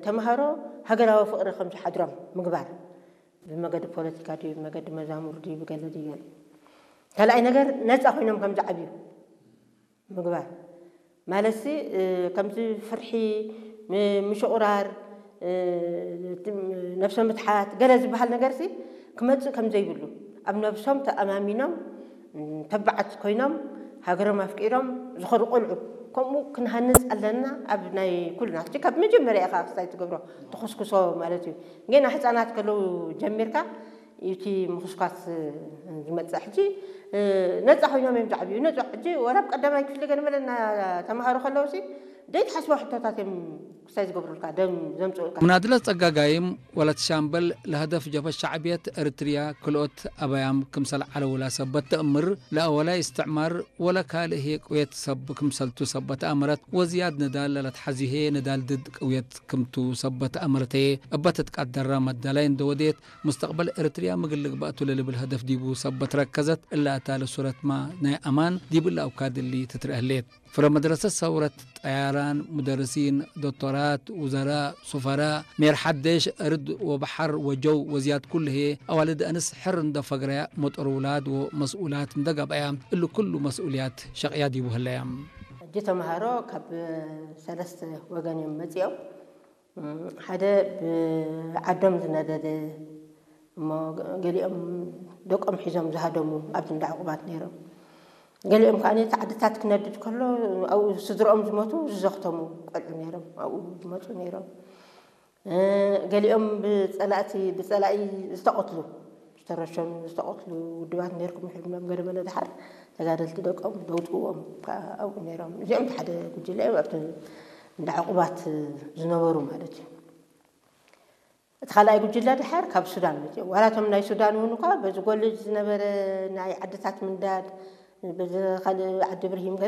ተምሃሮ ሃገራዊ ፍቕሪ ከም ዝሓድሮም ምግባር፣ ብመገዲ ፖለቲካ ድዩ፣ ብመገዲ መዛሙር ድዩ፣ ብገለ ድዩ፣ ገለ። ካልኣይ ነገር፣ ነፃ ኮይኖም ከም ዝዓብዩ ምግባር። ማለትሲ፣ እ፣ ከምዚ ፍርሒ፣ ም-፣ ምሽቑራር፣ እ፣ ነብሰ ምትሓት፣ ገለ ዝበሃል ነገርሲ ክመጽእ ከም ዘይብሉ፣ ኣብ ነብሶም ተኣማሚኖም፣ ም፣ ተባዓት ኮይኖም፣ ሃገሮም ኣፍቂሮም ዝኸዱ ቆልዑ፣ ከምኡ ክንሃንጽ ኣለና። ኣብ ናይ ኩልና፣ ሕጂ ካብ መጀመርያ ኢኻ ክስታይ ትገብሮ፣ ትኹስኩሶ ማለት እዩ። ገና ህጻናት ከለዉ ጀሚርካ፣ እቲ ምኹስኳስ ዝመጽእ። ሕጂ፣ እ፣ ነጻ ኮይኖም እዮም ዝዓብዩ። ነጻ፣ ሕጂ ወላ ኣብ ቀዳማይ ክፍሊ ገለ መለ እና ተምሃሩ ከለውሲ፣ ዘይትሓስቦ ሕቶታት እዮም ክስታይ ዝገብሩልካ፣ ደም ዘምጽኡልካ። مناضلة ጸጋጋይም ወለት ሻምበል ለሀደፍ ጀብሀት ሸዕብየት ኤርትርያ ክልኦት ኣበያም ክምሰል ዓለውላ ሰበት ተእምር፣ ለአወላይ እስትዕማር ወለ ካልእ ህየ ቅውየት ሰብ ክምሰልቱ ሰበት ኣመረት፣ ወዝያድ ንዳል ለለትሓዚ ህየ ንዳል ድድ ቅውየት ክምቱ ሰበት ኣመረተየ። እበት ትቃደራ መዳላይ እንደወዴት፣ ሙስተቅበል ኤርትርያ ምግልግ ባእቱ ለልብል ሀደፍ ዲቡ ሰበት ረከዘት። እላ እታ ለሱረትማ ናይ ኣማን ዲብ እላ እውካድ እሊ ትትረአ ህሌት። ፍረ መድረሰት ሰውረት ጠያራን፣ ሙደርሲን፣ ዶክቶራት፣ ውዘራእ፣ ሱፈራእ፣ ሜር ሓደሽ፣ እርድ ወበሓር ወጀው ወዝያድ ኩሉ ህየ፣ ኣዋልድ ኣንስ ሕር እንደ ፈግረያ፣ መጦር ውላድ ወመስኡላት እንደ ጋብኣያ፣ እሉ ኩሉ መስኡልያት ሸቕያ ዲቡ ህለያ። ሕጂ ተምሃሮ ካብ ሰለስተ ወገን እዮም መጺኦም። ሓደ ብዓዶም ዝነደደ፣ እሞ ገሊኦም ደቆም ሒዞም ዝሃደሙ ኣብዚ እንዳ ዕቑባት ነይሮም። ገሊኦም ከኣ እቲ ዓድታት ክነድድ ከሎ ኣብኡ ስድርኦም ዝሞቱ ዝዘኽተሙ ቆልዑ ነይሮም፣ ኣብኡ ዝመጹ ነይሮም። እ፣ ገሊኦም ብጸላእቲ፣ ብጸላኢ ዝተቐትሉ፣ ዝተረሸኑ፣ ዝተቐትሉ ውድባት ነይርኩም ይሕብሎም። ገለ መለ ድሓር ተጋደልቲ ደቆም ዘውጽእዎም ከኣ ኣብኡ ነይሮም። እዚኦም እቲ ሓደ ጉጅለ እዮም ኣብቲ እንዳ ዕቑባት ዝነበሩ ማለት እዩ። እቲ ካልኣይ ጉጅለ ድሓር ካብ ሱዳን መጺኦም። ዋላ እቶም ናይ ሱዳን እውን እኳ በዚ ጎልጅ ዝነበረ ናይ ዓድታት ምንዳድ፣ በዚ ካልእ ዓዲ ብርሂም ገለ